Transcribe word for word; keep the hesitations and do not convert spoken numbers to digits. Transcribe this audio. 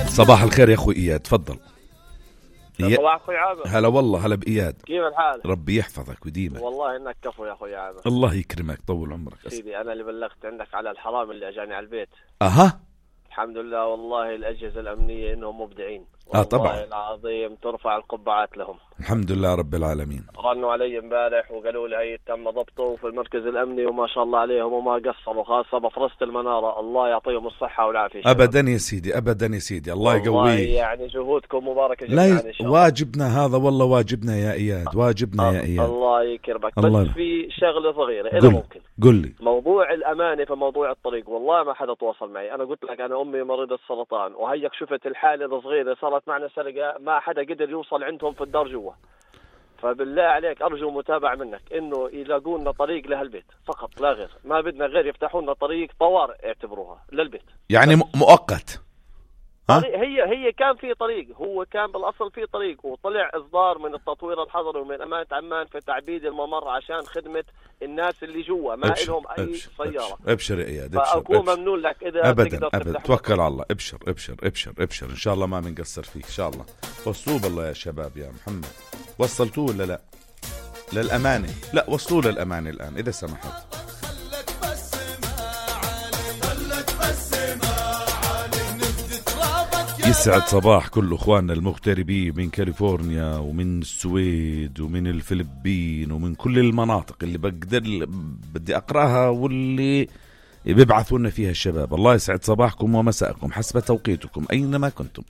صباح الخير يا أخوي إياد، تفضل. صباح أخوي عامر. هلا والله، هلا بإياد. كيف الحال؟ ربي يحفظك ويديمك. والله إنك كفو يا أخوي عامر. الله يكرمك، طول عمرك. سيدي أنا اللي بلغت عندك على الحرام اللي أجاني على البيت. أها. الحمد لله والله الأجهزة الأمنية إنهم مبدعين. آه طبعا. والله العظيم ترفع القبعات لهم. الحمد لله رب العالمين. رنوا علي امبارح وقالوا لي هي تم ضبطه في المركز الأمني وما شاء الله عليهم وما قصروا، خاصة بفرصة المنارة. الله يعطيهم الصحة والعافية. أبدا يا سيدي، أبدا يا سيدي، الله يقويه. يعني جهودكم مباركة جدا. لا ي... إن شاء الله. واجبنا هذا والله، واجبنا يا إياد، واجبنا أه. يا إياد. الله يكرمك. الله. بس في شغلة صغيرة إذا ممكن. قل لي. موضوع الأمانة في موضوع الطريق، والله ما حدا تواصل معي. أنا قلت لك أنا أمي مريضة سرطان، وهيك شفت الحالة الصغيرة صارت معنا سرقة، ما حدا قدر يوصل عندهم في الدار جوا. فبالله عليك أرجو متابعة منك إنه يلاقوا لنا طريق لهالبيت فقط لا غير، ما بدنا غير يفتحوا لنا طريق طوارئ اعتبروها للبيت. يعني مؤقت. هي هي كان في طريق، هو كان بالاصل في طريق، وطلع اصدار من التطوير الحضري ومن امانه عمان في تعبيد الممر عشان خدمه الناس اللي جوا، ما لهم اي أبشر سياره. ابشر يا اياد، ابشر. فاكون ممنون لك اذا ابدا ابدا توكل على الله. ابشر ابشر ابشر ابشر، ان شاء الله ما بنقصر فيك ان شاء الله. وصلوه بالله يا شباب يا محمد، وصلتوه ولا لا؟ للامانه، لا وصلوه للامانه الان اذا سمحت. يسعد صباح كل اخواننا المغتربين من كاليفورنيا ومن السويد ومن الفلبين ومن كل المناطق اللي بقدر بدي اقراها واللي بيبعثوا لنا فيها الشباب. الله يسعد صباحكم ومساءكم حسب توقيتكم اينما كنتم.